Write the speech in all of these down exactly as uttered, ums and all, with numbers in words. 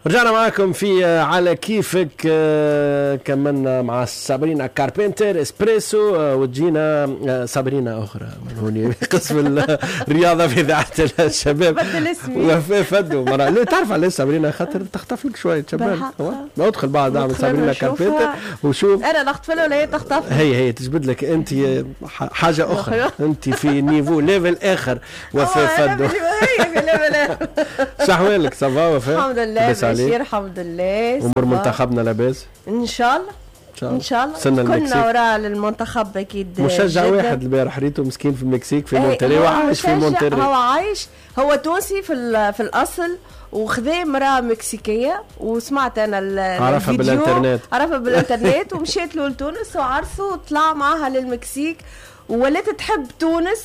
رجعنا معكم في على كيفك، كملنا مع سابرينا كاربنتر اسبريسو، وتجينا سابرينا اخرى من هوني قسم الرياضة في اذاعة الشباب. بدل اسمي وفاء فدو مرة. لا تعرف علاش سابرينا؟ خاطر تخطف لك شوية شباب. ادخل بعد اعمل سابرينا كاربنتر وشوف. انا نخطف ولا هي تخطف؟ هي هي تجبد لك انت حاجة اخرى، انت في niveau level اخر. وفاء فدو هي في level اخر. شحوالك؟ ça va وفاء؟ الحمد لله بخير الحمد لله. امور منتخبنا لاباس؟ ان شاء الله ان شاء الله. كنا وراء للمنتخب اكيد. مشجع واحد البارح ريته مسكين في المكسيك في مونتري، وعايش في مونتري. هو عايش، هو تونسي في في الاصل وخذا امراة مكسيكيه، وسمعت انا عرفها بالانترنت، عرفها بالانترنت ومشيت له لتونس وعرسه وطلع معاها للمكسيك وولات تحب تونس.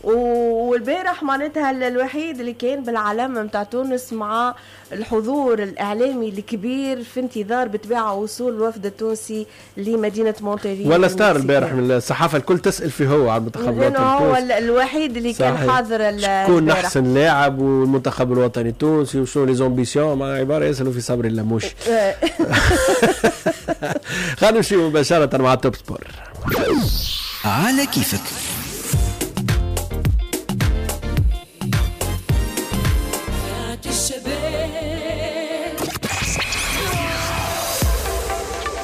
والبارح معناتها الوحيد اللي كان بالعلم متاع تونس مع الحضور الإعلامي الكبير في انتظار بطبيعة وصول الوفد التونسي لمدينة مونتري. ولا star البارح من الصحافة الكل تسأل فيه هو على المنتخب الوطني التونسي، هو الوحيد اللي كان حاضر. شكون أحسن لاعب والمنتخب الوطني التونسي وشنو les ambitions، مع عبارة يسألوا في صبري اللموشي. خلينا نمشي مباشرة مع Top Sport. على كيفك.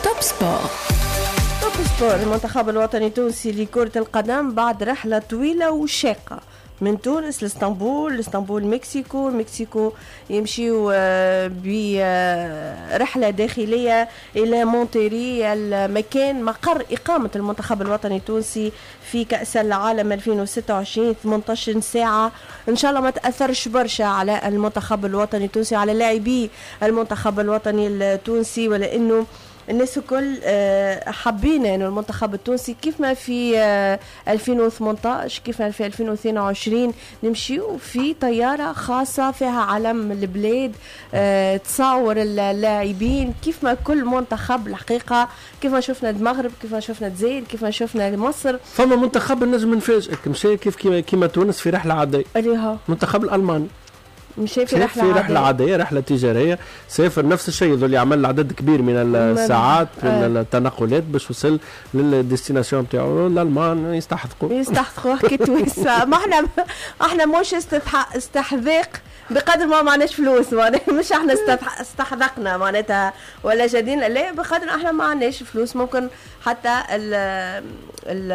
Top Sport. Top Sport. المنتخب الوطني التونسي لكرة القدم بعد رحلة طويلة وشاقة من تونس لاسطنبول، لاسطنبول مكسيكو، مكسيكو يمشيو برحلة داخلية إلى مونتيري، المكان مقر إقامة المنتخب الوطني التونسي في كأس العالم ألفين وستة وعشرين. ثمانية عشر ساعة إن شاء الله ما تأثرش برشا على المنتخب الوطني التونسي، على لاعبي المنتخب الوطني التونسي، ولأنه الناس الكل حابين انه المنتخب التونسي كيف ما في ألفين وثمانية عشر كيف ما في ألفين واثنين وعشرين نمشيو في طيارة خاصة فيها علم البلاد، تصور اللاعبين كيف ما كل منتخب الحقيقة، كيف ما شفنا المغرب، كيف ما شفنا الجزائر، كيف ما شفنا مصر. فما منتخب النجم نفاجئك مشى كيف كيما تونس في رحلة عادية، اللي هو المنتخب الألماني مشى في رحلة في رحلة عادية، رحلة تجارية، سافر نفس الشيء اللي عمل عدد كبير من الساعات من التنقلات باش وصل لل destination نتاعو. الألمان يستحقوا يستحقوا حكي تونس. ما احنا احنا مش استحذاق بقدر ما معناش فلوس، مش احنا استحذقنا معناتها ولا جدين، لا بقدر احنا ما عندناش فلوس. ممكن حتى ال ال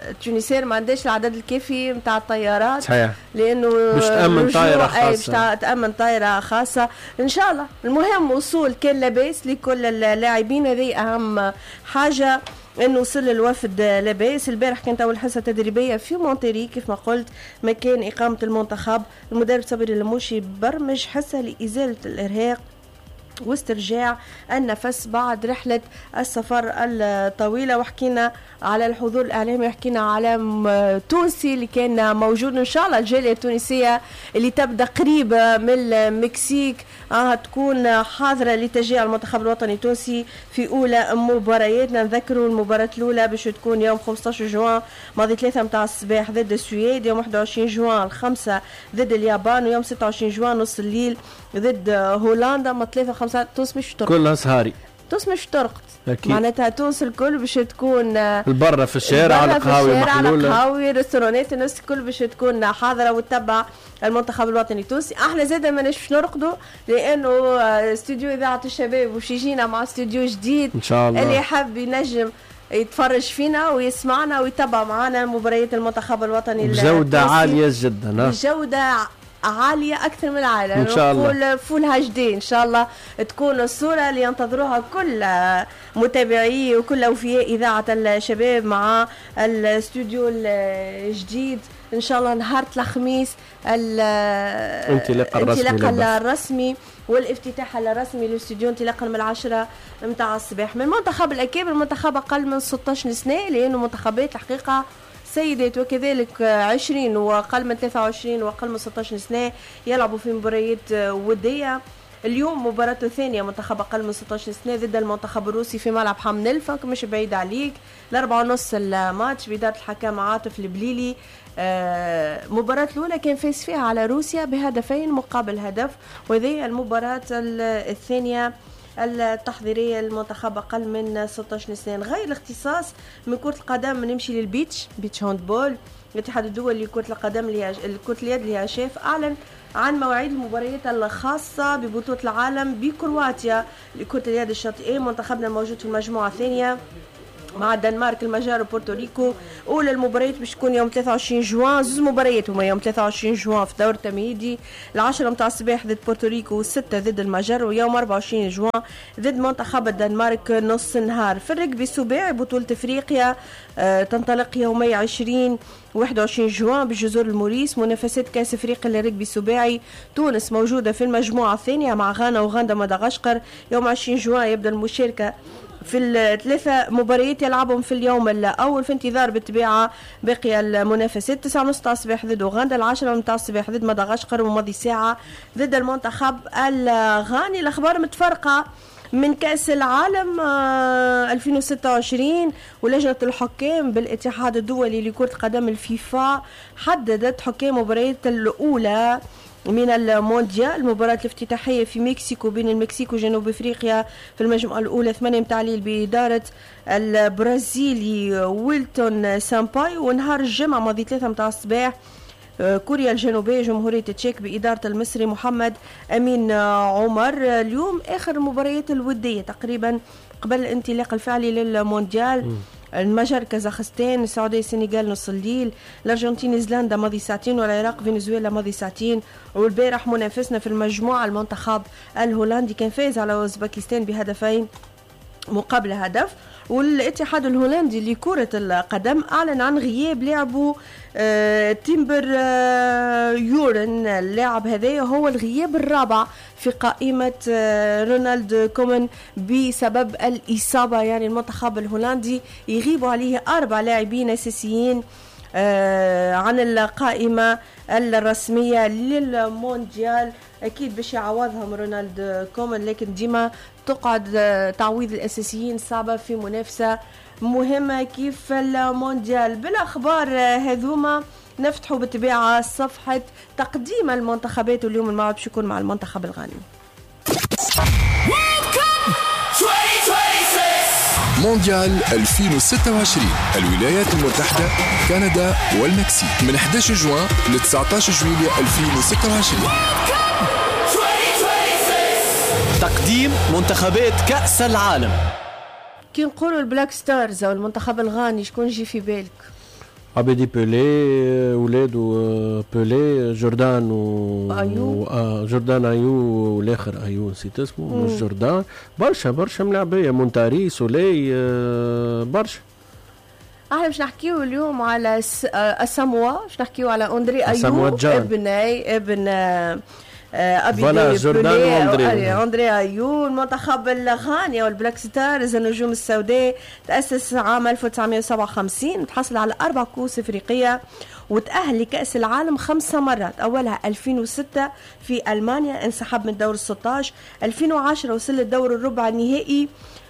التونسيين ما عندهاش العدد الكافي نتاع الطيارات. صحيح. لانه باش تامن طائره خاصة، باش تامن طائره خاصة ان شاء الله. المهم وصول كان لاباس لكل اللاعبين، هذه اهم حاجة انه وصل الوفد لاباس. البارح كانت اول حصة تدريبية في مونتري كيف ما قلت مكان اقامه المنتخب. المدرب صبري اللموشي برمج حصة لازالة الارهاق واسترجاع النفس بعد رحلة السفر الطويلة. وحكينا على الحضور الإعلامي، وحكينا على تونسي اللي كان موجود. إن شاء الله الجالية التونسية اللي تبدأ قريبة من المكسيك آه تكون حاضرة لتشجيع المنتخب الوطني التونسي في أولى مبارياتنا. نذكروا المباراة الأولى باش تكون يوم خمسة عشر جوان ماضي ثلاثة متاع الصباح ضد السويد، يوم واحد وعشرين جوان الخمسة ضد اليابان، ويوم ستة وعشرين جوان نص الليل ضد هولندا. ما ثلاثة خمسة تونس مش ترقد، كلها سهاري، تونس مش ترقد. معناتها تونس الكل باش تكون البرة في الشارع، على القهاوي محلولة، القهاوي ريستورانات، الناس الكل باش تكون حاضرة وتتبع المنتخب الوطني التونسي. احنا زاده ماناش باش نرقدوا لانه استوديو اذاعة الشباب باش يجينا مع استوديو جديد ان شاء الله، اللي حاب ينجم يتفرج فينا ويسمعنا ويتبع معنا مباريات المنتخب الوطني بجودة عالية جدا، بجودة عالية أكثر من العالم إن شاء الله، full HD إن شاء الله تكون الصورة اللي ينتظروها كل متابعي وكل أوفياء إذاعة الشباب مع الاستوديو الجديد إن شاء الله نهار الخميس الانطلاق الرسمي, الرسمي والافتتاح الرسمي للاستوديو انطلاقا من العشرة متاع الصباح. من منتخب الأكابر، منتخب أقل من ستة عشر سنة، لأنه منتخبات الحقيقة سيدات وكذلك عشرين وأقل من ثلاثة وعشرين وأقل من ستة عشر سنة يلعبوا في مباريات ودية. اليوم مباراته الثانية منتخب أقل من ستة عشر سنة ضد المنتخب الروسي في ملعب حمام الأنف، مش بعيد عليك، الأربعة ونص الماتش بإدارة الحكام عاطف البليلي. آه، مباراة الأولى كان فاز فيها على روسيا بهدفين مقابل هدف، وهذه المباراة الثانية التحضيرية للمنتخب أقل من ستة عشر سنة. غير الاختصاص من كرة القدم، نمشي لل beach، beach handball. الاتحاد الدولي لكرة القدم، لكرة اليد، l'IHF، أعلن عن مواعيد المباريات الخاصة ببطولة العالم بكرواتيا لكرة اليد الشاطئية. منتخبنا موجود في المجموعة الثانية مع الدنمارك، المجر وبورتوريكو. اولى المباريات باش تكون يوم ثلاثة وعشرين جوان، زوز مباريات هما يوم ثلاثة وعشرين جوان في دور التمهيدي، العشرة متاع الصباح ضد بورتوريكو والستة ضد المجر، ويوم أربعة وعشرين جوان ضد منتخب الدنمارك نص النهار. في الركبي السباعي، بطولة افريقيا آه تنطلق يومي عشرين واحد وعشرين جوان بجزر الموريس. منافسات كاس افريقيا للركبي السباعي، تونس موجودة في المجموعة الثانية مع غانا وغندا مدغشقر. يوم عشرين جوان يبدا المشاركة في الثلاثة مباريات يلعبهم في اليوم الأول، في انتظار بالطبيعة باقي المنافسات. تسعة ونص تاع الصباح ضد أوغندا، العشرة متاع الصباح ضد مدغشقر، وماضي ساعة ضد المنتخب الغاني. الأخبار متفرقة من كأس العالم ألفين وستة وعشرين، ولجنة الحكام بالاتحاد الدولي لكرة القدم الفيفا حددت حكام مباريات الأولى من المونديال. المباراة الافتتاحية في مكسيكو بين المكسيك وجنوب افريقيا في المجموعة الأولى ثمانية متاع الليل بإدارة البرازيلي ويلتون سامباي، ونهار الجمعة ماضي ثلاثة متاع الصباح آه، كوريا الجنوبية جمهورية تشيك بإدارة المصري محمد أمين عمر. اليوم آخر المباريات الودية تقريبا قبل الانطلاق الفعلي للمونديال: المجر كازاخستان، السعودية السنغال نص الليل، الأرجنتين نيوزيلندا ماضي ساعتين، والعراق فنزويلا ماضي ساعتين. والبارح منافسنا في المجموعة المنتخب الهولندي كان فاز على أوزبكستان بهدفين مقابل هدف. والاتحاد الهولندي لكرة القدم أعلن عن غياب لاعبه آه، تيمبر آه، يورن. اللاعب هذا هو الغياب الرابع في قائمة آه، رونالد كومان بسبب الإصابة، يعني المنتخب الهولندي يغيب عليه أربع لاعبين أساسيين عن القائمة الرسمية للمونديال. أكيد باش يعوضهم رونالد كومان، لكن ديما تقعد تعويض الأساسيين صعبة في منافسة مهمة كيف المونديال. بالأخبار هذوما نفتحوا بالطبيعة صفحة تقديم المنتخبات، واليوم الموعد باش يكون مع المنتخب الغاني. World Cup twenty twenty-six. مونديال ألفين وستة وعشرين، الولايات المتحدة، كندا والمكسيك، من حداش جوان ل تسعطاش جويلية ألفين وستة وعشرين. World Cup twenty twenty-six. تقديم منتخبات كأس العالم. كي نقولوا ال Black Stars او المنتخب الغاني، شكون يجي في بالك؟ عبيدي بيلي، ولادو بيلي، جوردان و أيو. آه جوردان ايو، والاخر ايو نسيت اسمه، مش جوردان. برشا برشا ملاعبيه، مونتاري، سولي، آه برشا. احنا باش نحكيو اليوم على س... آه، الساموا، باش نحكيو على اندري ايو. أساموا جان. ابن ابن آه، ابي voilà، جوردان وأندري. اندري ايو. المنتخب الغاني او ال Black Stars، النجوم السوداء، تاسس عام ألف وتسعمية وسبعة وخمسين، تحصل على اربع كؤوس افريقية وتأهل لكأس العالم خمسة مرات، أولها ألفين وستة في ألمانيا انسحب من دور ستاش، ألفين وعشرة وصل للدور الربع النهائي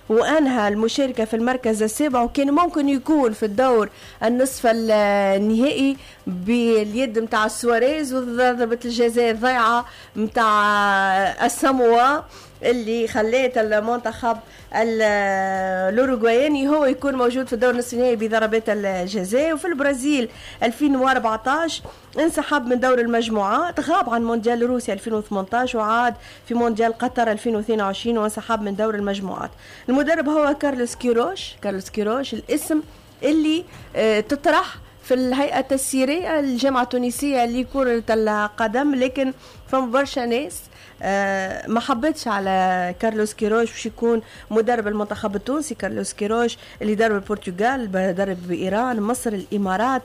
وأنهى المشاركة في المركز السابع، وكان ممكن يكون في الدور النصف النهائي باليد متاع سواريز وضربة الجزاء الضيعة متاع الساموا اللي خلات المنتخب الاوروغواياني هو يكون موجود في الدور النصف النهائي بضربات الجزاء. وفي البرازيل ألفين وأربعطاش انسحب من دور المجموعات، غاب عن مونديال روسيا ألفين وثمنطاش، وعاد في مونديال قطر ألفين واثنين وعشرين وانسحب من دور المجموعات. المدرب هو كارلوس كيروش. كارلوس كيروش الاسم اللي آه، تطرح في الهيئة التسييرية الجامعة التونسية لكرة القدم، لكن فما برشا ناس آه، ما حبتش على كارلوس كيروش باش يكون مدرب المنتخب التونسي. كارلوس كيروش اللي درب البرتغال، درب بإيران، مصر، الإمارات.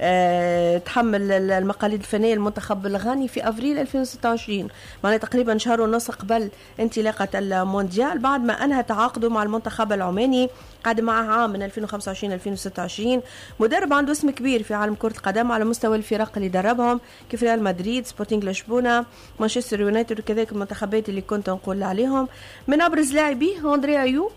أه تحمل المقاليد الفنية المنتخب الغاني في افريل ألفين وستة وعشرين، معناها تقريبا شهر ونص قبل انطلاقة المونديال، بعد ما انهى تعاقده مع المنتخب العماني، قعد معه عام من ألفين وخمسة وعشرين ألفين وستة وعشرين. مدرب عنده اسم كبير في عالم كرة القدم على مستوى الفرق اللي دربهم كيف ريال مدريد، سبورتينغ لشبونة، مانشستر يونايتد، وكذلك المنتخبات اللي كنت نقول عليهم. من أبرز لاعبيه أندري أيو،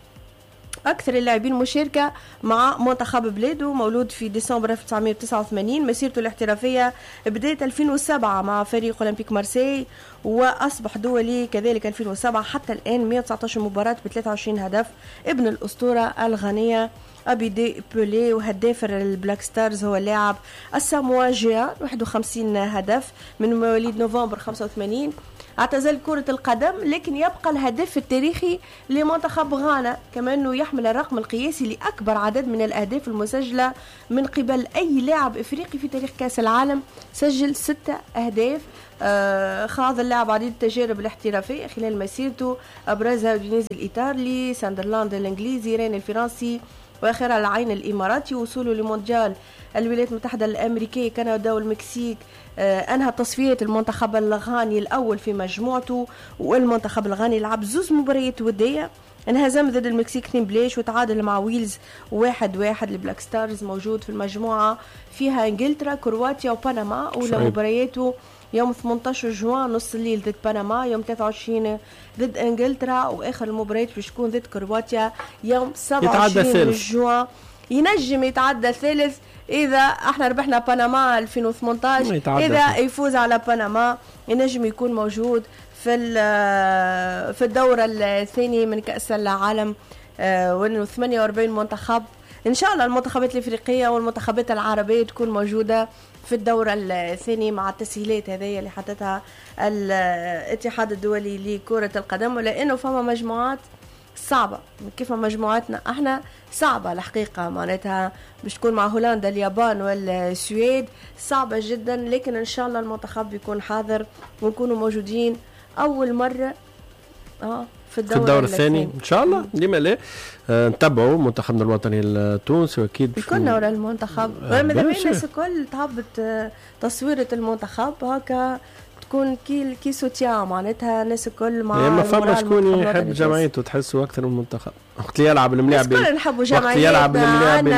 أكثر اللاعبين مشاركة مع منتخب بلاده، مولود في ديسمبر ألف وتسعمائة وتسعة وثمانين، مسيرته الاحترافية بداية ألفين وسبعة مع فريق أولمبيك مارسيل، وأصبح دولي كذلك ألفين وسبعة حتى الآن، مئة وتسعة عشر مباراة ب ثلاثة وعشرين هدف. ابن الأسطورة الغانية أبيدي بولي، وهداف البلاك ستارز هو اللاعب الساموا جيان، واحد وخمسين هدف من مواليد نوفمبر خمسة وثمانين. اعتزل كرة القدم لكن يبقى الهدف التاريخي لمنتخب غانا، كما أنه يحمل الرقم القياسي لأكبر عدد من الأهداف المسجلة من قبل أي لاعب إفريقي في تاريخ كأس العالم، سجل ستة أهداف. آه خاض اللاعب عديد التجارب الاحترافية خلال مسيرته، أبرزها أودينيزي الإيطالي، ساندرلاند الإنجليزي، رين الفرنسي، وآخرها العين الإماراتي. وصوله لمونديال الولايات المتحدة الأمريكية، كندا والمكسيك، آه أنهى تصفية المنتخب الغاني الأول في مجموعته، والمنتخب الغاني لعب زوز مباريات ودية، انهزم ضد المكسيك اثنين بلاش وتعادل مع ويلز واحد واحد. البلاك ستارز موجود في المجموعة فيها إنجلترا، كرواتيا وبنما، أولى مبارياته يوم ثمانية عشر جوان نص الليل ضد بنما، يوم ثلاثة وعشرين ضد انجلترا، واخر المباريات باش تكون ضد كرواتيا يوم سبعة وعشرين جوان. ينجم يتعدى الثالث اذا احنا ربحنا بنما ألفين وثمانية عشر، اذا يفوز على بنما ينجم يكون موجود في في الدورة الثانية من كأس العالم، وانه ثمانية وأربعين منتخب. ان شاء الله المنتخبات الافريقية والمنتخبات العربية تكون موجودة في الدورة الثانية مع التسهيلات هذه اللي حطتها الاتحاد الدولي لكرة القدم، ولأنه فما مجموعات صعبة كيف مجموعاتنا احنا صعبة الحقيقة، معناتها باش تكون مع هولندا، اليابان والسويد صعبة جدا، لكن ان شاء الله المنتخب يكون حاضر ونكونوا موجودين أول مرة اه في الدورة, في الدورة الثاني ان شاء الله. لما لا آه نتبعوا منتخبنا الوطني التونسي، واكيد كنا ورا المنتخب، ماذا بينا الناس الكل تهبط تصويرة المنتخب هكا تكون كي كي سوتيان، معناتها الناس الكل مع ما فما شكون يحب جمعيته تحسه اكثر من المنتخب. وقت يلعب الملاعب الكل نحبوا جمعيتنا، وقت يلعب الملاعب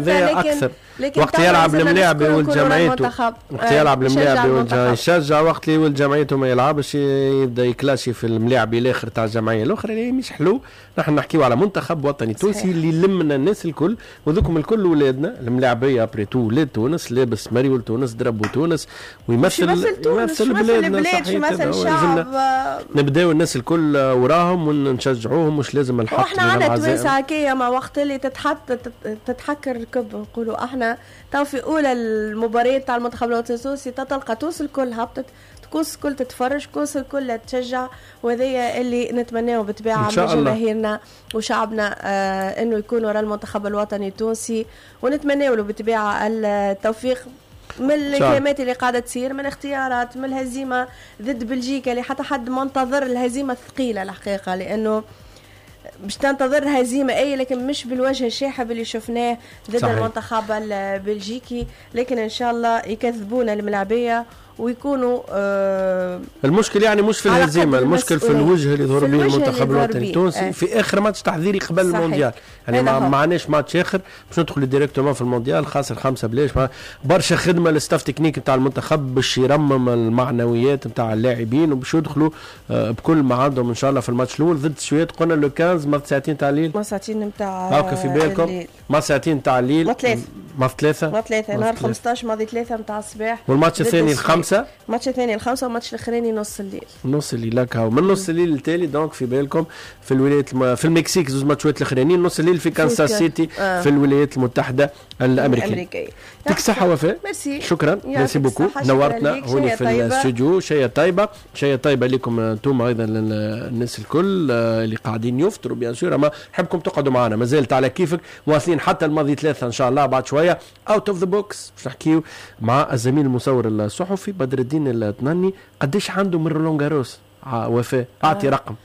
هذا اكثر، وقت يلعب الملاعب ولد جمعيته، وقت يلعب الملاعب ولد يشجع، وقت اللي ولد جمعيته ما يلعبش يبدا يكلاشي في الملاعب الاخر تاع الجمعية الاخرى اللي مش حلو. نحن نحكيو على منتخب وطني تونسي اللي لمنا الناس الكل، وذوكم الكل ولادنا الملاعبيه après tout ولاد تونس، لابس مريول تونس، دربوا تونس، ويمثل يمثل بلادنا، يمثل الشعب. نبداو الناس الكل وراهم ونشجعوهم، مش لازم الحق. واحنا عندنا توانسة هكايا، ما وقت اللي تتحط تتحكر الركب نقولوا احنا تو في اولى المباريات تاع المنتخب الوطني التونسي تلقى تونس الكل هبطت، تونس الكل تتفرج، تونس الكل تشجع، وهذايا اللي نتمناه بالطبيعة من جماهيرنا وشعبنا آه انه يكون وراء المنتخب الوطني التونسي، ونتمناه له بالطبيعة التوفيق من الكلمات اللي قاعدة تصير، من اختيارات، من الهزيمة ضد بلجيكا اللي حتى حد ما انتظر الهزيمة الثقيلة الحقيقة، لانه باش تنتظر هزيمة اي لكن مش بالوجه الشاحب اللي شفناه ضد صحيح. المنتخب البلجيكي، لكن ان شاء الله يكذبونا الملاعبيه ويكونوا آه المشكل يعني مش في الهزيمة، المشكل في الوجه اللي ظهر به المنتخب الوطني التونسي آه. في اخر ماتش تحضيري قبل صحيح. المونديال، يعني ما معناش ماتش اخر باش ندخل directement في المونديال خاسر خمسة بلاش. برشا خدمة لل staff technique نتاع المنتخب باش يرمم المعنويات نتاع اللاعبين وباش يدخلوا آه بكل ما عندهم ان شاء الله في الماتش الاول ضد السويد. قلنا le خمسة عشر ساعتين تاع الليل، ما ساعتين نتاع هاكا في بالكم، ما ساعتين تاع الليل، ما ثلاثة ما ثلاثة ما ثلاثة نهار خمسطاش ماضي ثلاثة نتاع الصباح، والماتش الثاني الخمسة، الماتش الثاني الخمسة، والماتش الاخراني نص الليل، نص الليل هكا من نص الليل التالي. donc في بالكم في الولايات الم... في المكسيك زوج ماتشات الاخرانيين نص الليل في كانساس سيتي آه. في الولايات المتحدة الأمريكية. يعطيك الصحة وفاء، ميرسي، شكرا، merci beaucoup، نورتنا هوني في الاستوديو. شيء طيبة، شيء طيبة لكم انتم ايضا للناس الكل اللي قاعدين يفطروا bien sûr، اما نحبكم تقعدوا معنا مازالت على كيفك، مواصلين حتى الماضي ثلاثة ان شاء الله بعد شوية out of the box باش نحكيو مع الزميل المصور الصحفي بدر الدين التناني. قديش عنده من رولان غاروس وفاء؟ اعطي رقم.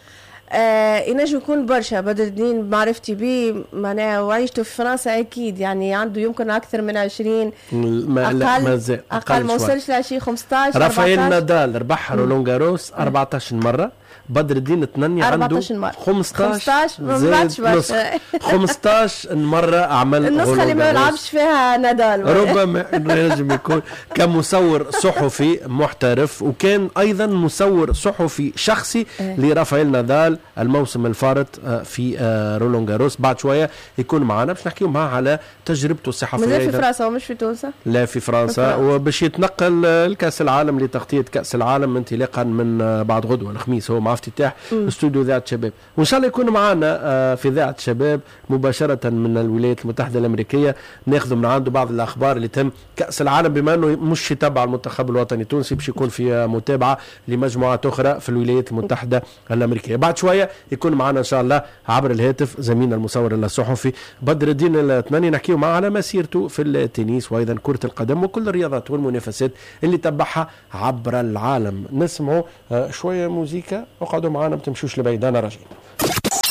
آه ينجم يكون برشا. بدر الدين بمعرفتي به معناها وعيشته في فرنسا اكيد يعني عنده يمكن اكثر من عشرين. ما اقل لا، مازال. اقل، ما شوي. وصلش ل عشرين، خمسطاش. رافائيل أربعطاش. نادال ربح رولون جاروس أربعطاش مرة، بدر الدين التنني عنده أربعطاش مرة. خمسطاش. خمسطاش، ما زاد بعدش برشا. نسخة. خمسطاش مرة عمل النسخة اللي رولون ما جاروس. يلعبش فيها نادال. ربما انه ينجم يكون كمصور صحفي محترف، وكان ايضا مصور صحفي شخصي إيه. لرافائيل نادال الموسم الفارط آه، في آه، رولون جاروس. بعد شوية يكون معنا باش نحكيو معاه على تجربته الصحفية مازال في أيضاً. فرنسا ومش في تونس؟ لا، في فرنسا. في فرنسا. وباش يتنقل آه، لكاس العالم، لتغطيه كاس العالم انطلاقا من آه، بعد غدوه الخميس، هو مع افتتاح استوديو اذاعة شباب، وان شاء الله يكون معنا آه، في اذاعة شباب مباشرة من الولايات المتحدة الامريكيه، ناخذ من عنده بعض الاخبار اللي تهم كاس العالم، بما انه مش يتبع المنتخب الوطني التونسي، باش يكون في متابعه لمجموعات اخرى في الولايات المتحدة الامريكية. بعد شوية يكون معنا ان شاء الله عبر الهاتف زميلنا المصور الصحفي بدر الدين التناني، نحكيو معه على مسيرته في التنس وايضا كره القدم وكل الرياضات والمنافسات اللي تبعها عبر العالم. نسمعوا آه، شوية موزيكا، اقعدوا معنا ما تمشوش لبعيد، انا راجعين.